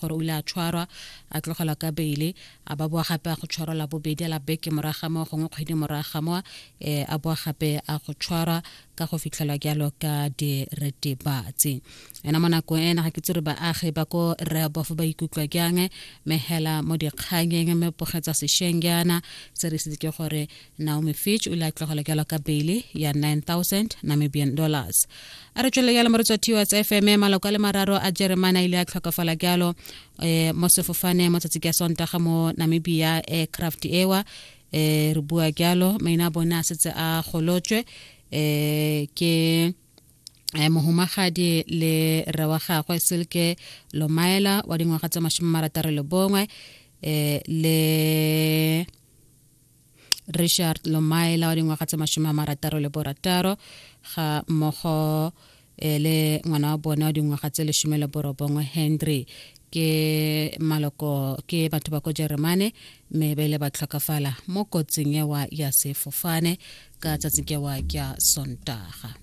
gore o ile a tshwarwa a tlogelwa ka beile a ba boa gape a go tshwarwa la bobedi la beke morago ga moo gongwe kgwedi morago ga moo um a boa gape a go tshwarwa ka go fitlhelwa jalo ka diretebatsi ena mo nakong ena ga ke tse re baagi ba ko rehobof ba ikutlwa jang mme hela mo dikganyeng mme pogetsa sešweng jaana se re setse ke gore naomi fitch o ile a tlogelwa jalo ka beile ya 9000 namibian dollars a re tswelele jalo moretsi wa TOS fm maloko a le mararo a jeremane a ile a tlhokafala jalo um mo sefofane mo tsatsi ka sontaga mo namibia aircraft ewa um re bua jalo maina a bone a setse a golotswe um ke eh, mohumagadi le rre wa gagwe silke lomaela wa dingwaga tse 61 eh, le richard lomaela wa dingwaga tse 66 ga mmogo eh, le ngwana wa bone wa dingwaga tse 19 henry ke maloko ke batho ba ko jeremane mme ba ile ba tlhokafala mo kotsing ewa ya sefofane ka tsatsi kewa kya sontaga.